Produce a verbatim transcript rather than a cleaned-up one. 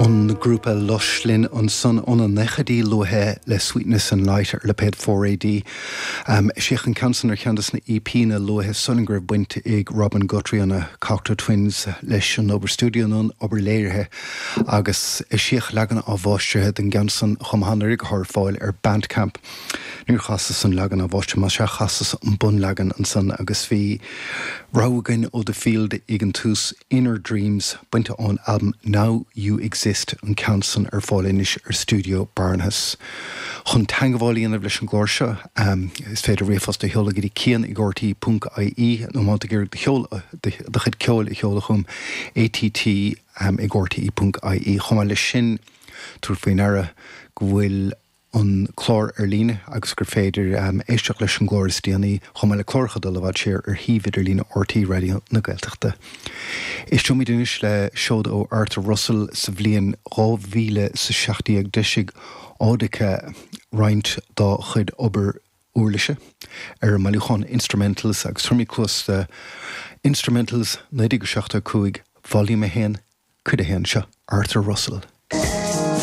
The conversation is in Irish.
An grúpa Lush linn ansan ó na nóchaidí luatha le Sweetness and Light ar lipéad four AD. Um, Eisíodh an ceann san ar cheann de na EPanna luatha sula raibh baint ag Robin Guthrie na Cocteau Twins leis an obair stiúideo nó an obair léirithe agus eisíodh leagan athmháistrithe den gceann san chomh maith ar fáil ar Bandcamp. Níor chasas an leagan athmháistrithe más ea chasas an bunleagan ansan agus bhí rogha againn ó The Field ag an tús Inner Dreams bainte ón album Now You Exist an ceann san ar fáil anois ar Studio Barnahus. Chun teagmháil a dhéanamh leis an gclár seo um, is féidir ríomhphost a sheoladh go dtí cian ag RTE ponc IE nó má tá do cheol do chuid ceoil a sheoladh chugam ATT um, ag RTE ponc IE chomh maith leis sin tabhair faoi deara go bhfuil an clár ar líne agus gur féidir um, éisteacht leis an gclár is déanaí chomh maith le cláracha dul i bhfad siar ar shuíomh idirlín RTÉ Raidió na Gaeltachta. Éisteoimid anois le seod ó Arthur Russell sa bhliain dhá mhíle sa seacht déag d'eisigh Audika roinnt dá chuid obair uirlise ar an mbailiúchán Instrumentals agus tabharfaimid cluas do Instrumentals naoi déag seachtó cúig Volume a haon cuid a haon seo Arthur Russell.